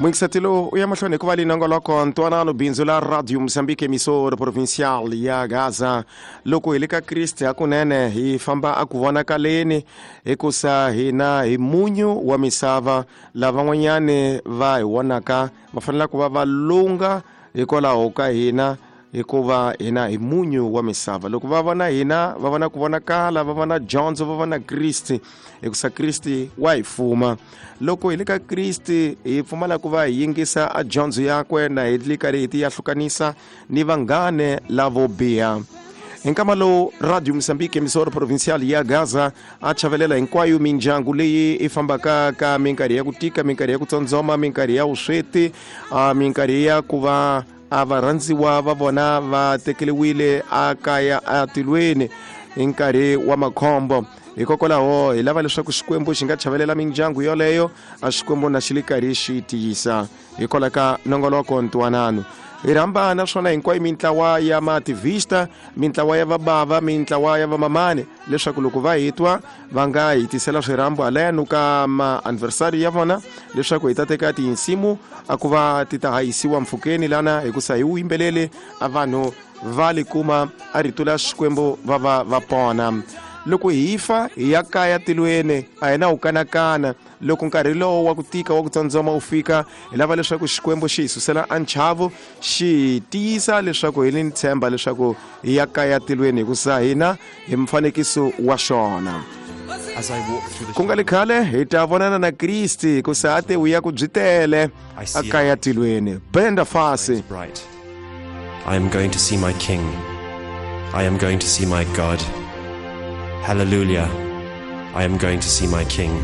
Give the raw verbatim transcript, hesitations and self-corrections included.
Mwingisatilo u ya mahlweni hikuva leyi nongoloko ntwanano bindzu la Radio Mozambique, emissora provincial ya Gaza. Loko hi le ka Kriste hakunene hi famba a ku vonakaleni, hikusa hina hi munyu wa misava. Lavan'wanyani va hi vonaka va fanele ku va va lunga hikwalaho ka hina, hikuva hina hi munyu wa misava. Loko va vona hina va vona ku vonakala, va vona dyondzo, va vona Kriste, hikusa Kriste wa hi fuma. Loko hi le ka Kriste hi pfumala ku va hi yingisa a dyondzo yakwe na hi le karhi hi ti yahlukanisa ni vanghane lavo biha. Hi nkama lowu Radio Mozambique, emissora provincial ya Gaza, a chavelela hinkwayo mindyangu leyi i fambaka ka minkarhi ya ku tika, minkarhi ya ku tsondzoma, minkarhi ya vusweti, minkarhi ya ku va a varhandziwa va vona va tekeriwile a kaya atilweni hi nkarhi wa makhombo. Hikokwalaho hi lava leswaku Xikwembu xi nga chavelela mindyangu yoleyo, a Xikwembu na xi le karhi xi tiyisa. Hikwalaho ka nongoloko ntwanano hi rhamba naswona hinkwayo mintlawa ya mativista, mintlawa ya vabava, mintlawa ya vamamani, leswaku loko va hi twa va nga hi tisela swirhambo haleno ka ma-anniversary ya vona, leswaku hi ta teka tinsimu a ku va ti ta hayisiwa mpfhukeni lana, hikusa hi wu yimbelele a vanhu va li kuma a rito la Xikwembu va va va pona. Loko hi fa hi ya kaya tilweni, a hi na ku kanakana. Loko nkarhi lowo wa ku tika wa ku tsandzama wu fika, hi lava leswaku Xikwembu xi hi susela a nchavo, xi hi tiyisa leswaku hi ni ntshemba leswaku hi ya kaya tilweni, hikusa hina hi mfanekiso wa xona. Ku nga li khale hi ta vonana na Kriste, hikusa a te u ya ku byi tele a kaya tilweni. Benda fasi. I am going to see my King. I am going to see my God. Hallelujah. I am going to see my King.